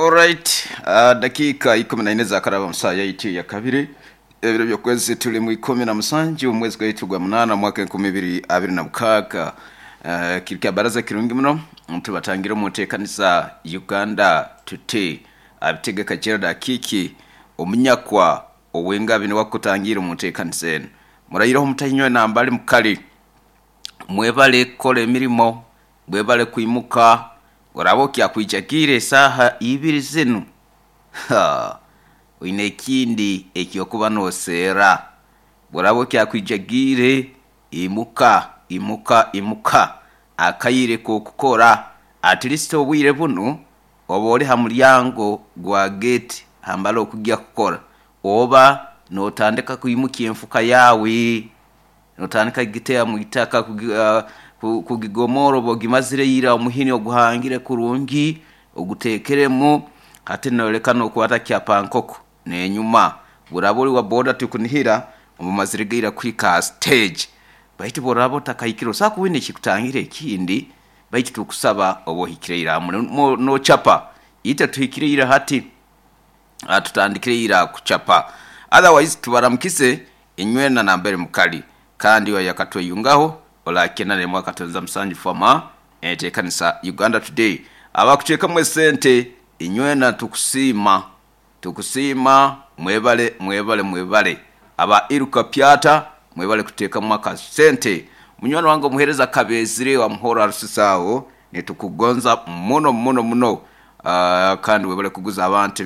Alright, dakiika 14 zakaraba mu saaha yaitu eyakabiri ebiro by'okwezi turi mu 17 omwezi gwaitu gwa munaana omwaka 2026. Kiri kya baraza kirungi muno tubatangira omu nteekanisa Uganda Today. Abitegeka Gerald Akiiki omunyakwa ow'engabi niwe akutangiire omu nteekanisa enu. Muraireho mutainywe nambali mukali. Mwebale kukora emirimo, mwebale kwimuka. Oraabe okyakwijagiire esaaha ibiri zinu, ha, oine ekindi eky'okuba nooseera. Bw'oraabe okyakwijagiire, imuka, imuka, imuka. Akaire k'okukora, at least obwire bunu oba ori ha muryango gwa geeti hambali okugya kukora, oba nootandika kwimukya enfuka yaawe. Notandika kugiteera mu itaka, kugigomoora oba ogimazire ira omuhini oguhangire kurungi oguteekeremu. Hati nooleka nookwata kyapankoko n'enyuma. Bw'oraaba ori wa boda tikunihira oba omazire ira kuhika aha siteegi. Baitu bw'oraaba otakahikire osobola kuba oine ekikutangire ekindi, baitu tukusaba obe ohikire ira. Noocapa, itwe tuhikire ira hati, tutandikire ira kucapa. Otherwise tubaramukize Inywena nambere mukali, kandi oyo akatweyungaho orakye na 1.7 former entekanisa Uganda Today. Abakuteekamu esente inywena tukusiima, tukusiima mwebale mwebale mwebale. Aba Iruka Pyata mwebale kuteekamu akasente. Munywani wange omuhereza Kabezire wa Muhoro Arusisi aho nitukugonza muno muno muno kandi webale kuguza abantu.